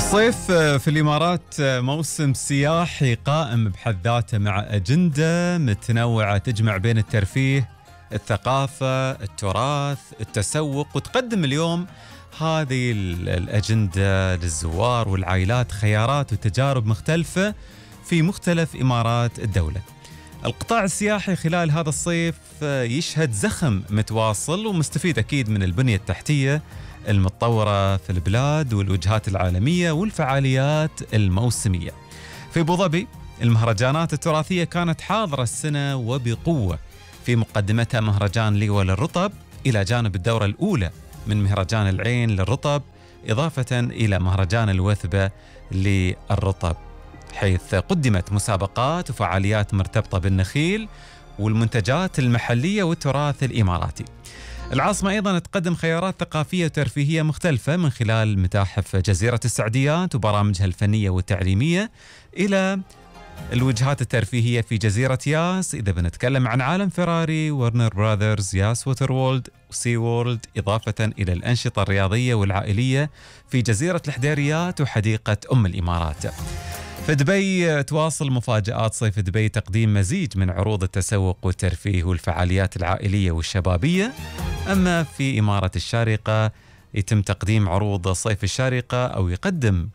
الصيف في الإمارات موسم سياحي قائم بحد ذاته، مع أجندة متنوعة تجمع بين الترفيه، الثقافة، التراث، التسوق، وتقدم اليوم هذه الأجندة للزوار والعائلات خيارات وتجارب مختلفة في مختلف إمارات الدولة. القطاع السياحي خلال هذا الصيف يشهد زخم متواصل ومستفيد أكيد من البنية التحتية المتطورة في البلاد والوجهات العالمية والفعاليات الموسمية. في أبو ظبي المهرجانات التراثية كانت حاضرة السنة وبقوة، في مقدمتها مهرجان ليوة للرطب، إلى جانب الدورة الأولى من مهرجان العين للرطب، إضافة إلى مهرجان الوثبة للرطب، حيث قدمت مسابقات وفعاليات مرتبطة بالنخيل والمنتجات المحلية والتراث الإماراتي. العاصمة أيضا تقدم خيارات ثقافية وترفيهية مختلفة من خلال متاحف جزيرة السعديات وبرامجها الفنية والتعليمية، إلى الوجهات الترفيهية في جزيرة ياس إذا بنتكلم عن عالم فيراري، ورنر براذرز، ياس ووتر وولد، وسي وورلد، إضافة إلى الأنشطة الرياضية والعائلية في جزيرة الحديريات وحديقة أم الإمارات. في دبي تواصل مفاجآت صيف دبي تقديم مزيج من عروض التسوق والترفيه والفعاليات العائلية والشبابية. أما في إمارة الشارقة يتم تقديم عروض صيف الشارقة، أو يقدم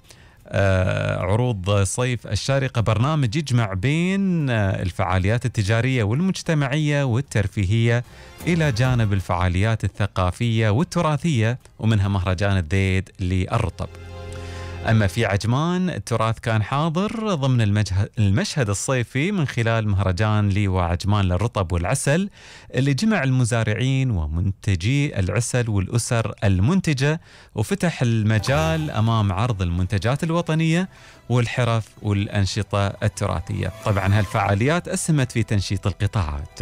عروض صيف الشارقة برنامج يجمع بين الفعاليات التجارية والمجتمعية والترفيهية إلى جانب الفعاليات الثقافية والتراثية، ومنها مهرجان الذيد للرطب. أما في عجمان التراث كان حاضر ضمن المشهد الصيفي من خلال مهرجان ليوة عجمان للرطب والعسل، اللي جمع المزارعين ومنتجي العسل والأسر المنتجة، وفتح المجال أمام عرض المنتجات الوطنية والحرف والأنشطة التراثية. طبعا هالفعاليات أسهمت في تنشيط القطاعات.